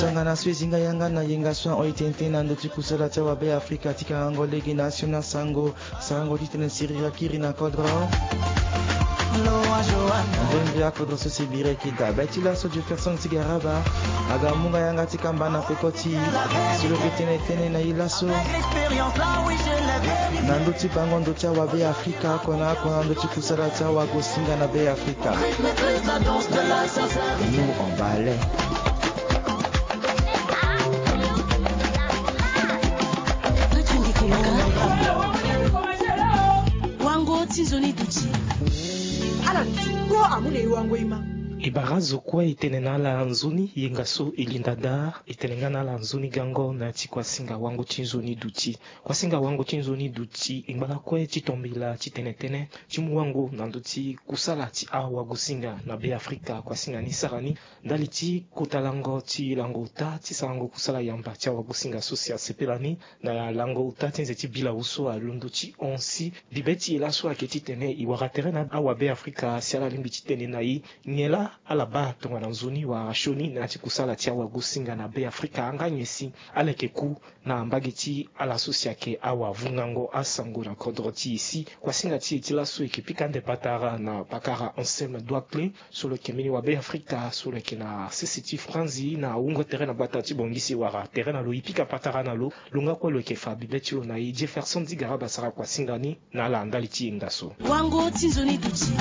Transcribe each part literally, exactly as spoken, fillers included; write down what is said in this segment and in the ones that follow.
Tongana so e zi nga yanga na yenga so ahon e tene tënë na ndö ti kusala ti awabe Afrika ti kangango lege na asioni asango. Sango ti tene siriri akiri na kodro. Mbembe akodro so si e biri ayeke dabe ti laso Jefferson Sigaraba aga mu nga yanga ti kamba na peko ti e so lo yeke tene tënë na e laso na ndö ti bango ndö ti awabe Afrika oko na oko na ndö ti kusala ti awagosinga na be Afrika. Nous on balai. Wango ti nzoni duti. Ala ti kpo amu na e wango e ma. E bara zo kue e tene na ala nzoni yenga so e linda daa. E tene nga na ala nzoni gango na ya ti kuasinga wango ti nzoni duti. Kuasinga wango ti nzoni duti e ngba lakue ti tombela ti tene tënë ti mu wango na ndö ti kusala ti awagosinga na be Afrika. Kuasinga ni sara ni ndali ti kota lango ti lango ota ti sarango kusala yamba ti awagosinga so si asepela ni na lango ota ti nze ti bilau so alondo ti hon si. Bibe ti e laso ayeke titene e wara tere na awabe Afrika si ala lingbi ti tene na e nyen laa ala baa tongana nzoni wala sioni na ya ti kusala ti awagosinga na be Afrika. Nga nyen si ala yeke ku na mbage ti ala so si ayeke awavungango asango na kodro ti e si. Kuasinga ti e ti laso e yeke pika ande patara na pakara Anselme Douaclé so lo yeke mbeni wabe Afrika so lo yeke na sese ti franzi na wungo tere na gbata ti Bangui si e wara tere na lo e pika patara na lo. Lo nga kue lo yeke fa bibe ti lo na e. Jefferson Sigaraba asara kuasinga ni na ala ndali ti yenga so. Wango ti nzoni duti.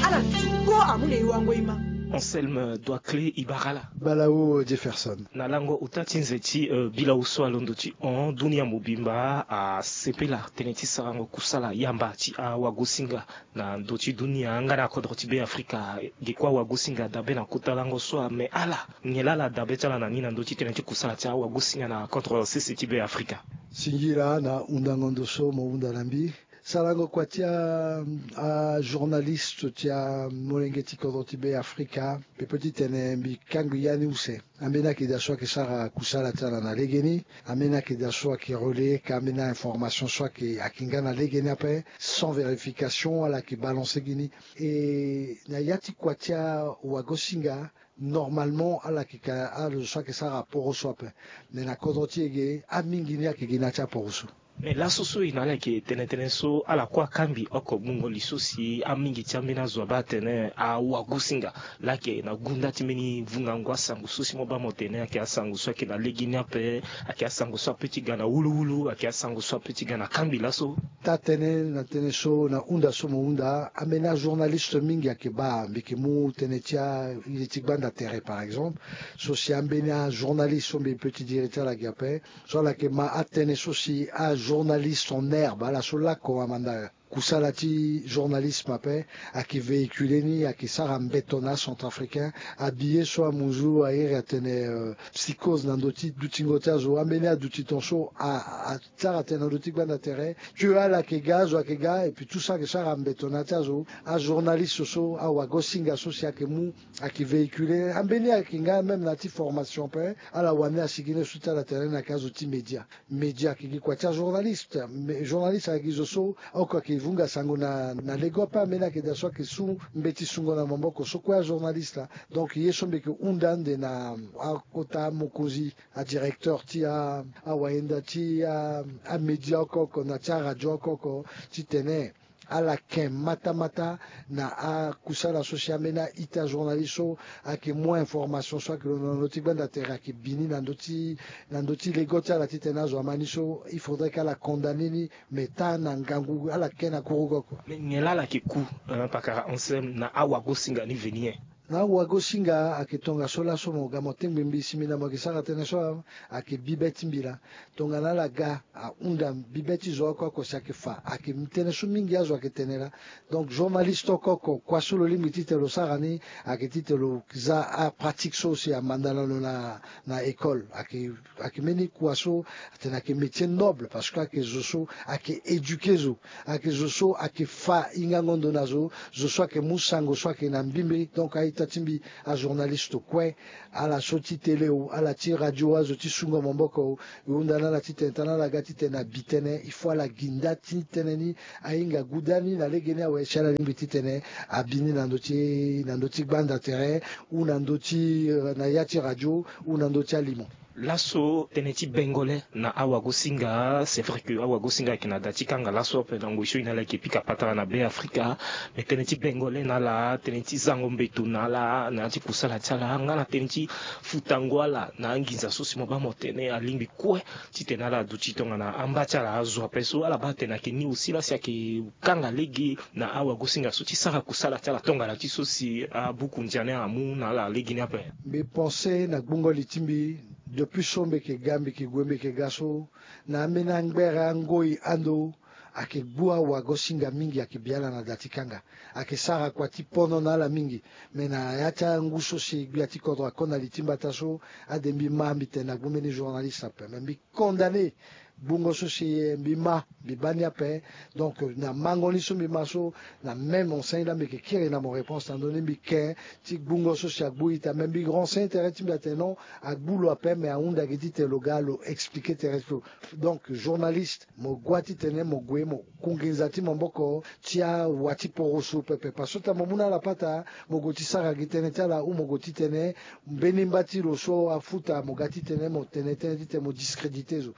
Ala ti kpo amu na e wango e ma. Anselme Douaclé e bara ala. Balawu Jefferson. Na lango ota ti nze ti, euh, bilau so alondo ti hon, dunia mobimba asepela tënë ti sarango kusala yamba ti awagosinga na ndö ti dunia nga na kodro ti be Afrika. Ge kue awagosinga dabe na kota lango so ame ala nyen laa ala dabe ti ala na ni na ndö ti tënë ti kusala ti awagosinga na kodro sese ti be Afrika. Singila na hundango ndo so mo hunda na mbi. Sarango kua ti a, ajournaliste ti amolenge ti kodro ti be Afrika, mbi peut ti tene mbi kangbi ya ni use. Ambeni ayeke daa so ayeke sara kusala ti ala na legeni. Ambeni ayeke daa so ayeke relayer ka ambeni a-information so ayeke, ayeke nga na legeni ape, sans vérification ala yeke balancer gi ni. E na ya ti kua ti awagosinga, normalement ala yeke ka, ala zo so ayeke sara aporoso ape. Me na kodro ti e ge, amingi ni ayeke gi na ya ti aporoso. Me laso so e na ala yeke tene tënë so ala kue akangbi oko gbungo li so si amingi ti ambeni azo abaa atene awagosinga laa ayeke na gunda ti mbeni vungango asango so si mo baa mo tene ayeke asango so ayeke na legeni ape, ayeke asango so ape ti ga na wuluwulu, ayeke asango so ape ti ga na kangbi laso. Taa tënë na tënë so na hunda so mo hunda, ambeni ajournaliste mingi ayeke baa, mbi yeke mu tënë ti a, iri ti gbanda tere par exemple, so si ambeni ajournaliste so mbi peut ti diri ti ala gi ape, so ala yeke ma atënë so si ajournaliste en herbe, ala so lako amanda kusala ti journalisme ape, ayeke véhiculer ni, ayeke sara mbeto na acentrafricain. Abillet so amuzu airi atene, euh, psychose na ndö ti dutingo ti azo. Ambeni aduti ton so a, asara tene na ndö ti gbanda tere, que ala yeke ga, azo ayeke ga, et puis tout ça ayeke sara mbeto na ya ti azo. Ajournaliste so, awagosinga so si ayeke mu, ayeke véhiculer. Ambeni ayeke nga même na ya ti formation ape, ala wani asigi ni so ti ala tene ni ayeke azo ti média. Média ayeke gi kua ti ajournaliste. Me journaliste ayeke gi zo so oko ayeke vunga sango na, na lego ape. Ambeni ayeke daa so ayeke su mbeti sungo na maboko so kue ajournaliste laa. Donc ye so mbi yeke hunda ande na akota mokonzi, adirecteur ti a, awayenda ti a, amédia oko oko na ti aradio oko oko, titene ala ken matamata na akusala so si ambeni a-ita journaliste so ayeke mu a-information so ayeke londo na ndö ti gbanda tere ayeke bi ni na ndö ti, na ndö ti lego ti ala titene azo ama ni so, il faudrait que ala condamner ni, mais taa na ngangu ala ken na kurugo kua. Mais nyen laa ala yeke ku, euh, pakara Anselme, na awagosinga ni veni nyen? Na awagosinga ayeke tongaso laso mo ga mo tengbi mbi si mbi na mo yeke sara tënë so ayeke bibe ti mbi laa. Tongana ala ga ahunda bibe ti zo oko oko si ayeke fa, ayeke tënë so mingi azo ayeke tene laa. Donc journaliste oko oko kua so lo lingbi titene lo sara ni, ayeke titene lo za apratique so si amanda na lo na, na école. Ayeke, ayeke mbeni kua so atene ayeke métier noble parce que ayeke zo so ayeke éduquer zo, ayeke zo so ayeke fa hingango ndo na zo, zo so ayeke mu sango so ayeke na mbimbi. Donc a-ita ti mbi ajournaliste kue, ala so ti télé o, ala ti radio, azo ti sungo maboko o, e hunda na ala titene tana ala ga titene abi tënë, il faut ala gi nda ti tënë ni ahinga guda ni na legeni awe si ala lingbi titene abi ni na ndö ti na ndö ti gbanda tere, ou na ndö ti na ya ti radio, ou na ndö ti alimo. Laso tënë ti bengole na awagosinga, c'est vrai que awagosinga ayeke na da ti kanga laso ape na ngoi so e na ala yeke pika patara na Be Afrika. Mais tënë ti bengole na ala, tënë ti zango mbeto na ala na ya ti kusala ti ala nga na tënë ti futango ala na anginza so si mo baa mo tene alingbi kue titene ala duti tongana amba ti ala azo ape so ala baa atene ayeke ni aussi la si ayeke kanga lege na awagosinga so ti sara kusala ti ala tongana ti so si abuku ndia ni amu na ala lege ni ape. Mbi pense na gbungo li ti mbi depuis so mbi yeke ga mbi yeke gue mbi yeke ga so, na ambeni angbere angoi ando ayeke gbu awagosinga mingi ayeke bi ala na da ti kanga. Ayeke sara kua ti pono na ala mingi. Me na ya ti angu so si gbia ti kodro ako na li ti mbata so, ade mbi ma mbi tene na gbu mbeni journaliste ape me mbi condamné gbungo so si mbi ma mbi baa ni ape. Donc na mango ni so mbi ma so, na même enseigne la mbi yeke kiri na mo réponse na ndö ni mbi ke ti gbungo so si agbu ita me mbi renseigne tere ti mbi atene non, agbu lo ape me ahunda gi titene lo ga lo expliqué tere ti lo. Donc journaliste, mo gua titene mo gue mo ku nginza ti maboko ti awa ti poroso pepe parce que so tene mo mu na ala pata, mo gue ti sara gi tënë ti ala ou mo gue titene mbeni mba ti lo so afuta mo ga titene mo tene tënë titene mo discrédité zo.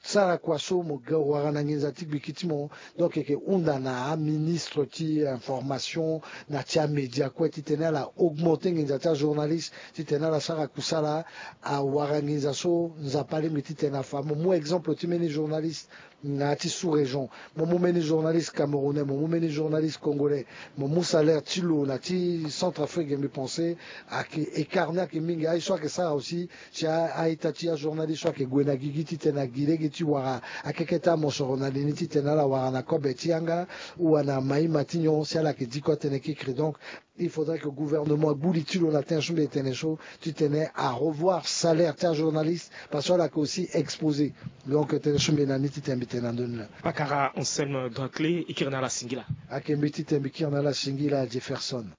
Sara kua so mo ga wara na nginza ti gbiki ti mo. Donc e yeke hunda na aministre ti information na ti amédia kue titene ala augmenté nginza ti ajournaliste titene ala sara kusala awara nginza so Nzapa alingbi titene afa. Mo mu exemple ti mbeni journaliste na ya ti sous région, mo mu mbeni journaliste camerounais, mo mu mbeni journaliste congolais, mo mu salaire ti lo na ti Centrafrique mbi pense ayeke écart ni ayeke mingi. Aye so ayeke sara aussi si a-ita ti ajournaliste so ayeke gue na gigi titene agi lege ti wara akeke ti amosoro na li ni titene ala wara na kobe ti yanga ou na maïma ti nyon si ala yeke diko atene kikiri. Donc il faudrait que gouvernement agbu li ti lo na tënë so mbi tene so titene arevoir salaire ti ajournaliste parce que ala yeke aussi exposé. Donc tënë so mbi na ni titene mbi tene na ndö ni laa. Pakara Anselme Doicle, e kiri na ala singila. Ayeke mbi titene mbi kiri na ala singila Jefferson.